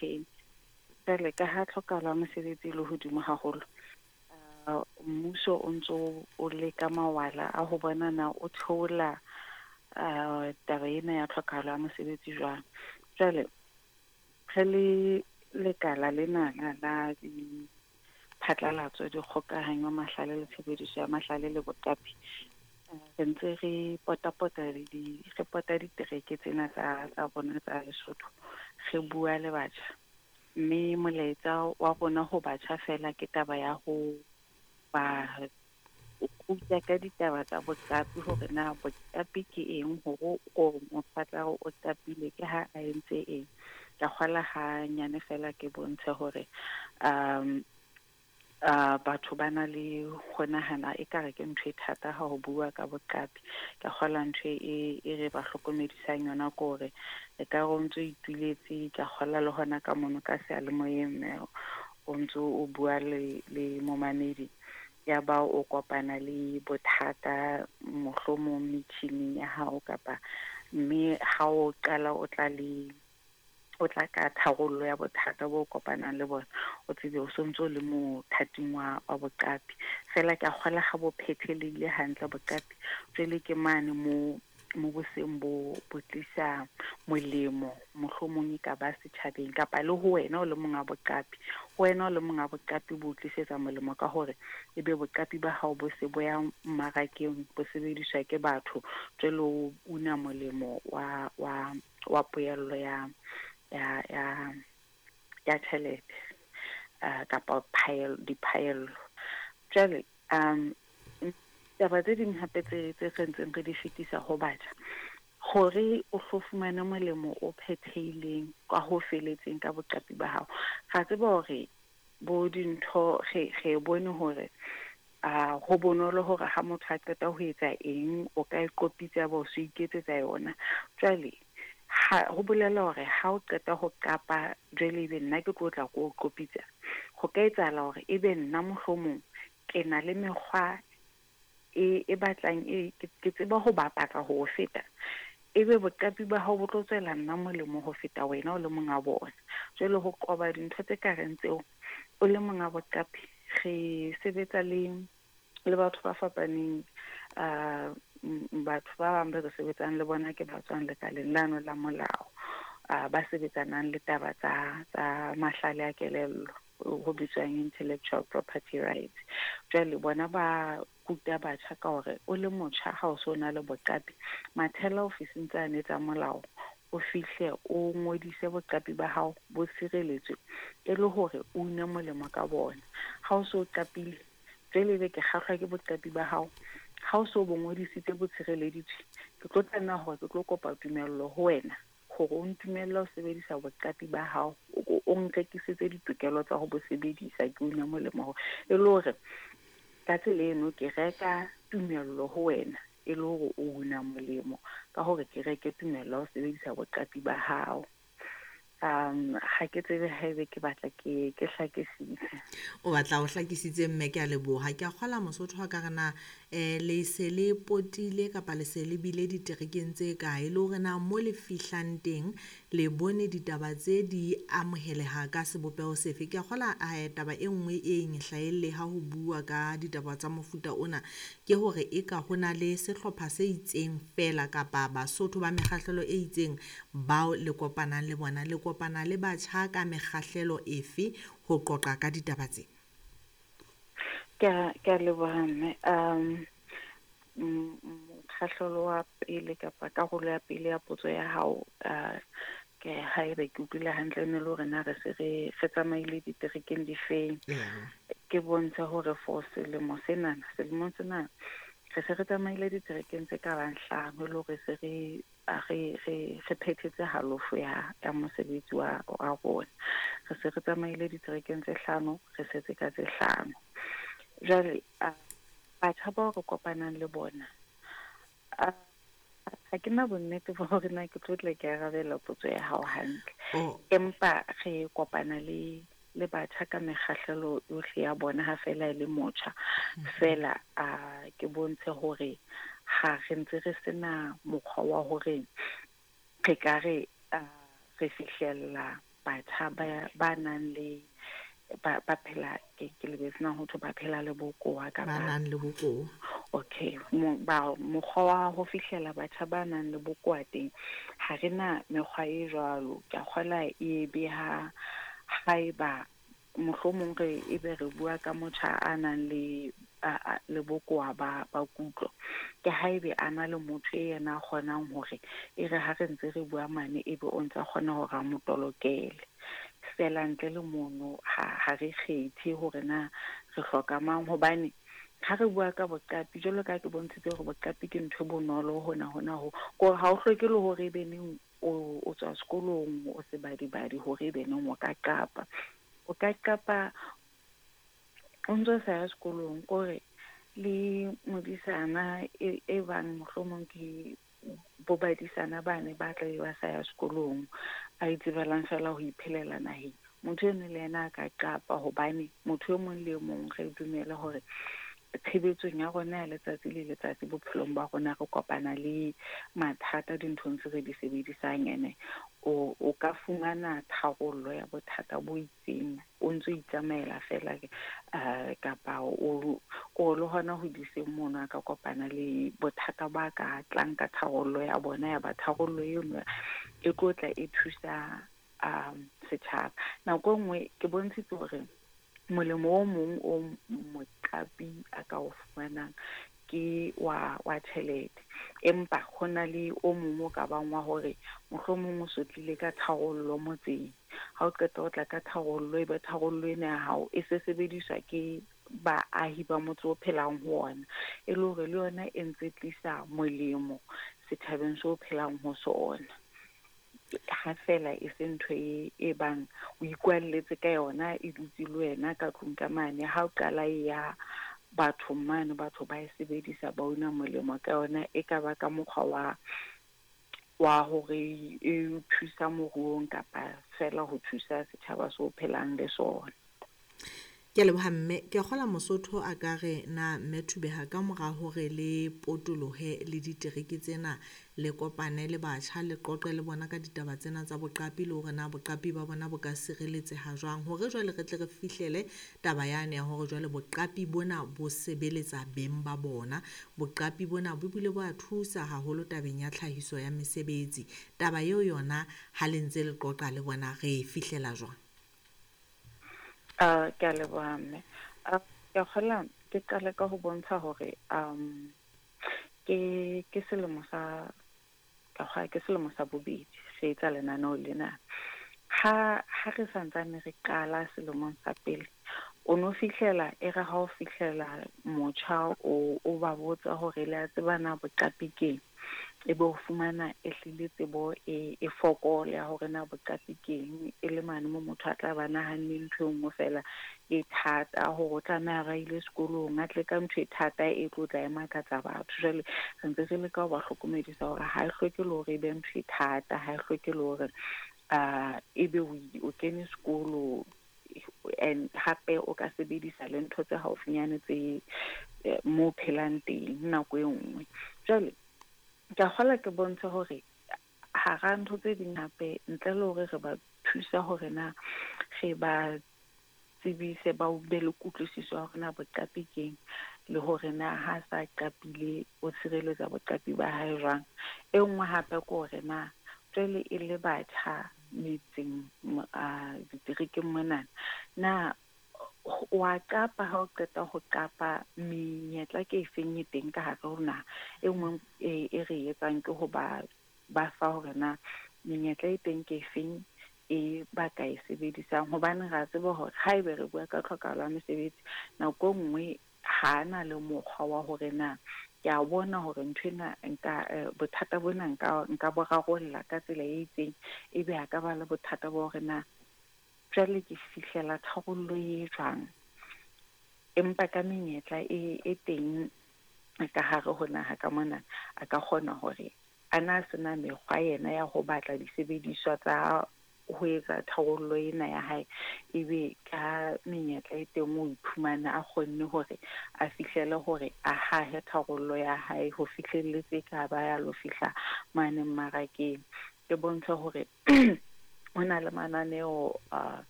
Kene. Jwale ka ha tlhokahalo ya mosebetsi e le hodimo haholo, mmuso o ntso o leka mawala a ho bona na o theola taba ena ya tlhokahalo ya mosebetsi jwang. Jwale re le lekala lenana la diphatlalatso, dikgokahanyo, mahlale le tshebediso ya mahlale le boqapi, re ntse re potapota re pota ditereke tsena tsa rona tsa Lesotho, re bua le batjha. Mme molaetsa wa rona ho batjha feela ke taba ya ho ba ruta ka ditaba tsa boqapi, hore na boqapi ke eng, hore o motho a tla re o qapile ke ha a entse eng. Ka kgola hanyane feela ke bontshe hore batho ba na le ho nahana ekare ke ntho e thata ha ho bua ka boqapi. Ka kgola ntho e re ba hlokomedisang yona ke hore e ka re o ntso ituletse, ka kgola le hona ka mono ka seyalemoyeng mme o ntso o bua le momamedi, ya ba o kopana le bothata mohlomong metjhining ya hao kapa, mme ha o qala o tla le o tla ka tharollo ya bothata bo kopanang le bona, o tsebe o sontso le mothating wa boqapi. Feela ke a kgola ha bo phethelehile hantle boqapi, jwale ke mane mo boseng bo tlisa molemo, mohlomong e ka ba setjhabeng kapa le ho wena o le monga boqapi. Ho wena o le monga boqapi bo tlisetsa molemo ka hore ebe boqapi ba hao bo se bo ya mmarakeng, bo sebediswa ke batho, jwale o una molemo wa poello ya tjhelete kapa diphaello. Jwale taba tse ding hape tse re ntseng re di fetisa ho batjha, hore o hlo fumane molemo o phethehileng ka ho feletseng ka boqapi ba hao. Ra tseba hore bo dintho re bone hore ho bonolo hore ha motho a qeta ho etsa eng, o ka e qopitsa ba o so iketsetsa yona. Jwale ha ho bolela hore ha o qeta ho qapa jwale ebe nna ke tlo tla ko o qopitsa, ho ka etsahala hore ebe nna mohlomong ke na le mekgwa e batlang e ke tseba ho bapatsa ho feta, ebe boqapi ba hao bo tlo tswela nna molemo ho feta wena o le monga bona. Jwale ho qoba dintho tse ka reng tseo, o le monga boqapi, re sebetsa le batho ba fapaneng. Batho ba bang ba re sebetsang le bona ke ba tswang lekaleng lano la molao, ba sebetsanang le taba tsa mahlale a kelello, ho bitswang intellectual property rights. Jwale bona ba ruta batjha ka hore o le motjha ha o so na le boqapi, mathela ofising tsane tsa molao, o fihle o ngodise boqapi ba hao bo sireletswe e le hore o une molemo ka bona. Ha o so qapile, jwale ebe ke kgahlwa ke boqapi ba hao, ha o so bo ngodisitse bo tshireleditswe, ke tlo tlameha hore ke tlo kopa tumello ho wena hore o ntumelle ho sebedisa boqapi ba hao, o nrekisetse ditokelo tsa ho bo sebedisa, ke une molemo hore e le hore ka tsela eno ke reka tumello ho wena e le hore o una molemo ka hore ke reke tumello ho sebedisa boqapi ba hao. Ha ke tsebe haebe ke batla ke hlakisitse. O batla o hlakisitse mme, ke a leboha. Ke a kgola Mosotho wa ka re na le se le potile kapa le se le bile diterekeng tse kae, le hore na mo le fihlang teng le bone ditaba tse di amoheleha ka sebopeho sefe. Ke a kgola taba e nngwe e nhlaelle ha ho bua ka ditaba tsa mofuta ona ke hore eka ho na le sehlopha se itseng feela kapa Basotho ba mekgahlelo e itseng bao le kopanang le bona. Le kopana le batjha ka mekgahlelo efe ho qoqa ka ditaba tse? Ke a leboha mme. Mokgahlelo wa pele kapa karolo ya pele ya potso ya hao, ke haebe ke utlwile hantle ne le hore na re se re tsamaile diterekeng difeng. Ke bontshe hore for selemo senana, selemong sena re se re tsamaile diterekeng tse ka bang 5, le hore se re phethetse halofo ya mosebetsi wa rona. Re se re tsamaile diterekeng tse 5, re setse ka tse 5. Jwale batjha bao re kopanang le bona, ha ke na bonnete ba hore na ke tlo tla ke arabela potso ya hao hantle. Empa re kopana le batjha ka mekgahlelo yohle ya bona ha feela e le motjha. Feela ke bontshe hore ha re ntse re sena mokgwa wa hore re ka re re fihlella batjha ba nang le ba phela, ke lebetse na ho thwe ba phela le bokowa kapa ba nang le bokowa. Okay, mokgwa wa ho fihlela batjha ba nang le bokowa teng, ha re na mekgwa e jwalo. Ke a kgolwa e be ha haeba mohlomong re ebe re bua ka motjha a nang le le bokowa ba kutlo, ke haebe a na le motho e yena a kgonang hore e re ha re ntse re bua mane ebe o ntsa kgona hore a mo tolokele. Fela ntle le mono ha re kgethe hore na re hloka mang, hobane ha re bua ka boqapi, jwalo ka ke bontshitse hore boqapi ke ntho e bonolo hona hona ho kore ha o hloke le hore ebe neng o tswa sekolong o sebadibadi hore ebe neng o ka qapa. O ka qapa o ntso sa ya sekolong, kore le modisana e bang mohlomong ke bo badisana bane ba tla be ba sa ya sekolong, a itsebelang fela ho iphelela naheng. Motho eno le yena a ka qapa, hobane motho e mong le e mong re dumele hore tshebetsong ya rona ya letsatsi le letsatsi bophelong ba rona re kopana le mathata dinthong tse re di sebedisang, ene o ka fumana tharollo ya bothata bo itseng o ntso itsamaela fela, kapa o le hona ho diseng mono a ka kopana le bothata ba ka tlang ka tharollo ya bona, ya ba tharollo eno e tlo tla e thusa setjhaba. Nako e nngwe ke bontshitse hore molemo o mong o moqapi a ka o fumanang ke wa tjhelete, empa ho na le o mong o ka bang wa hore mohlomong o so tlile ka tharollo motseng. Ha o qeta ho tla ka tharollo, ebe tharollo ena ya hao e se sebediswa ke baahi ba motse o phelang ho ona, e le hore le yona e ntse tlisa molemo setjhabeng seo o phelang ho sona. Ha fela e se ntho e bang o ikwalletse ka yona, e dutse le wena ka tlung ka mane. Ha o qala e ya bathong mane, batho ba e sebedisa, ba una molemo ka yona, e ka ba ka mokgwa wa hore e thusa moruong kapa fela ho thusa setjhaba seo phelang le sona. Ke a leboha mme, ke a kgola Mosotho a ka re na mme Thubega ka mora hore le potolohe le ditereke tsena, le kopane le batjha, le qoqe le bona ka ditaba tsena tsa boqapi le hore na boqapi ba bona bo ka sireletseha jwang, hore jwale re tle re fihlele taba yane ya hore jwale boqapi bona bo sebeletsa beng ba bona. Boqapi bona bo bile bo a thusa haholo tabeng ya tlhahiso ya mesebetsi. Taba eo yona ha le ntse le qoqa le bona re e fihlela jwang? Ke a leboha mme. Ke a kgola ke qale ka ho bontsha hore ke selemo sa ke selemo sa bobedi re etsa lenaneo lena. Ha re santsane re qala selemong sa pele, o no fihlela e re ha o fihlela motjha o ba botsa hore le a tseba na boqapi keng, ebe o fumana e hlile tsebo e fokola ya hore na boqapi keng, e le mane mo motho a tla ba nahanne ntho e nngwe fela e thata, hore o tlameha ba ile sekolong a tle ka ntho e thata e tlo tla e makatsa batho. Jwale re ntse re leka ho ba hlokomedisa hore ha e hloke le hore e be ntho e thata, ha e hloke le hore ebe o kene sekolo, and hape o ka sebedisa le ntho tse haufinyane tse mo phelang teng nako e nngwe. Jwale ke a kgola ke bontshe hore hara ntho tse ding hape, ntle le hore re ba thusa hore na re ba tsebise, ba be le kutlwisiso ya hore na boqapi keng, le hore na ha sa qapile o tshireletsa boqapi ba hae jwang. E nngwe hape ke hore na jwale e le batjha metseng diterekeng monana, na wa qapa ha o qeta ho qapa, menyetla ke efeng e teng ka hare ho naha? E nngwe e re etsang ke ho ba fa hore na menyetla e teng ke efeng e ba ka e sebedisang, hobane re a tseba hore haebe re bua ka tlhokahalo ya mesebetsi, nako e nngwe ha na le mokgwa wa hore na ke a bona hore ntho ena nka bothata bona nka bo rarolla ka tsela e itseng, ebe a ka ba le bothata ba hore na jwale ke fihlela tharollo e jwang. Empa ka menyetla e teng ka hare ho naha ka mona, a ka kgona hore a na sena mekgwa yena ya ho batla disebediswa tsa ho etsa tharollo ena ya hae, ebe ka menyetla e teng o iphumana a kgonne hore a fihlele hore a hahe tharollo ya hae ho fihlelletse ka ba ya lo fihla mane mmarakeng. Ke bontsha hore Ho na le mananeo a